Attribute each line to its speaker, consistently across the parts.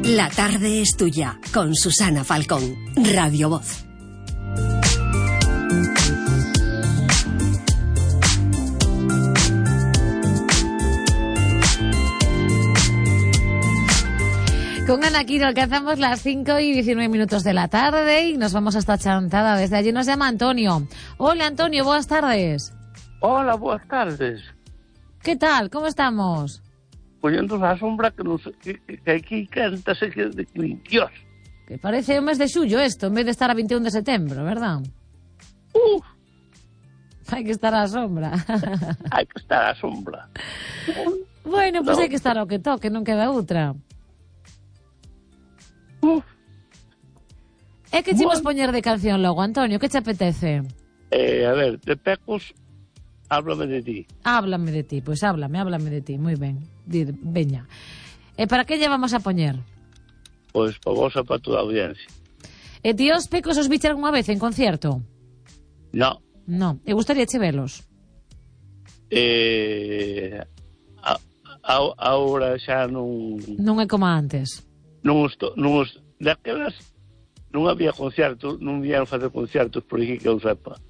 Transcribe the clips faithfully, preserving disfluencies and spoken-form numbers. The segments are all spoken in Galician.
Speaker 1: La tarde es tuya, con Susana Falcón, Radio Voz.
Speaker 2: Con Ana Quiro alcanzamos las cinco y diecinueve minutos de la tarde y nos vamos hasta Chantada. Desde allí nos llama Antonio. Hola Antonio, buenas tardes.
Speaker 3: Hola, buenas tardes.
Speaker 2: ¿Qué tal? ¿Cómo estamos?
Speaker 3: Poniendo a sombra que, nos, que, que aquí canta se que de Dios.
Speaker 2: Que parece un mes de suyo esto, en vez de estar a veintiuno de septiembre, ¿verdad?
Speaker 3: Uf.
Speaker 2: Hay que estar a la sombra.
Speaker 3: Hay que estar a la sombra.
Speaker 2: Bueno, pues
Speaker 3: no.
Speaker 2: Hai que estar ao que toque, non queda outra.
Speaker 3: Uf.
Speaker 2: É que che
Speaker 3: Bueno.
Speaker 2: imos poñer de canción logo, Antonio, que che apetece?
Speaker 3: Eh, a ver, de Pecos, háblame de ti.
Speaker 2: Háblame de ti, pois pues háblame, háblame de ti, moi ben. Dir, veña. E para que lle vamos a poñer?
Speaker 3: Pois para vos e para toda a audiencia.
Speaker 2: E ti os Pecos os viche algunha vez en concierto?
Speaker 3: No.
Speaker 2: Non, e gustaría che velos?
Speaker 3: Eh, a, a, ahora xa non...
Speaker 2: Non é como antes.
Speaker 3: Non estou... Non os, daquelas non había concertos, non vieron facer concertos por aquí que eu sepa.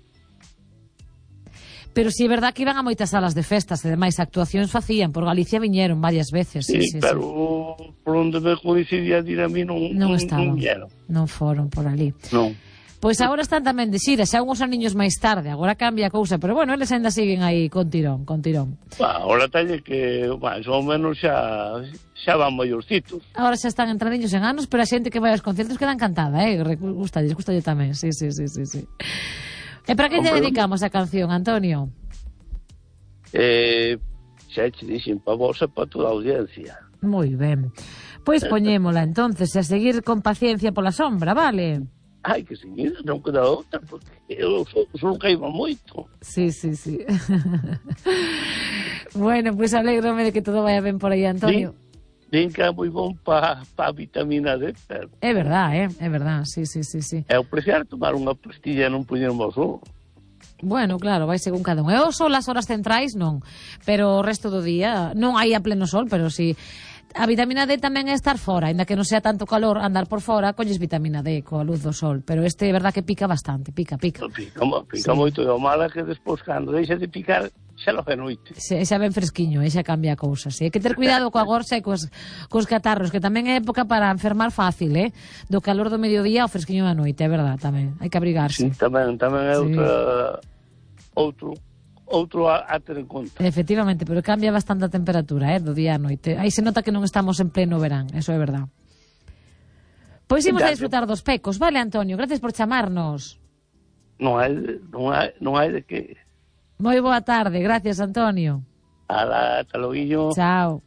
Speaker 2: Pero si sí, é verdad que iban a moitas salas de festas e demais actuacións facían, por Galicia viñeron varias veces. Sí,
Speaker 3: Sí,
Speaker 2: sí,
Speaker 3: pero
Speaker 2: sí.
Speaker 3: por onde me coincidía dir a mí non,
Speaker 2: Non
Speaker 3: non,
Speaker 2: estaban,
Speaker 3: non vieron.
Speaker 2: non foron por ali.
Speaker 3: Non.
Speaker 2: Pois agora están tamén de xira, xa unhos aniños máis tarde, agora cambia a cousa, pero bueno, eles ainda siguen aí con tirón, con tirón.
Speaker 3: Bah, ahora talle que, máis ou menos xa xa van maiorcitos.
Speaker 2: Agora xa están entradiños en anos, pero a xente que vai aos concertos queda encantada, eh? Gustalles, gustalle tamén, sí, sí, sí, sí, sí. E para que lle dedicamos a canción, Antonio?
Speaker 3: Eh, xa che dixen pa vos e pa toda a audiencia.
Speaker 2: Moi ben. Pois poñémola entonces e a seguir con paciencia pola sombra, vale?
Speaker 3: Ai, que seguida, non queda outra, porque eu son caíba moito.
Speaker 2: Sí, sí, sí. Bueno, pois alégrome de que todo vaya ben por aí, Antonio.
Speaker 3: Din que é moi bon pa, pa vitamina D, pero...
Speaker 2: É verdad, eh? É verdad, sí, sí, sí, sí.
Speaker 3: Eu prefiro tomar unha pastilla e non poñerme ao sol.
Speaker 2: Bueno, claro, vai según cada un. E o sol as horas centrais non, pero o resto do día non hai a pleno sol, pero si a vitamina D tamén é estar fora, ainda que non sea tanto calor andar por fora, colles vitamina D coa luz do sol, pero este é verdad que pica bastante, pica, pica.
Speaker 3: Pica, pica
Speaker 2: Sí.
Speaker 3: moito, e o mala que despois cando deixa de picar xa lo é noite.
Speaker 2: Se, xa ben fresquiño, e xa cambia a cousa, sí. Hai que ter cuidado coa gorxa e cos, cos catarros, que tamén é época para enfermar fácil, eh? Do calor do mediodía ao fresquiño da noite, é verdad, tamén. Hai que abrigarse.
Speaker 3: Sí, tamén, tamén é
Speaker 2: Sí.
Speaker 3: outra... outro outro a, a ter en conta.
Speaker 2: Efectivamente, pero cambia bastante a temperatura, eh, do día a noite. Aí se nota que non estamos en pleno verán, eso é verdad. Pois imos a disfrutar dos Pecos, vale, Antonio? Gracias por chamarnos.
Speaker 3: Non hai, non hai, non hai de que...
Speaker 2: Moi boa tarde, gracias, Antonio.
Speaker 3: Ala, ata loguillo.
Speaker 2: Chao.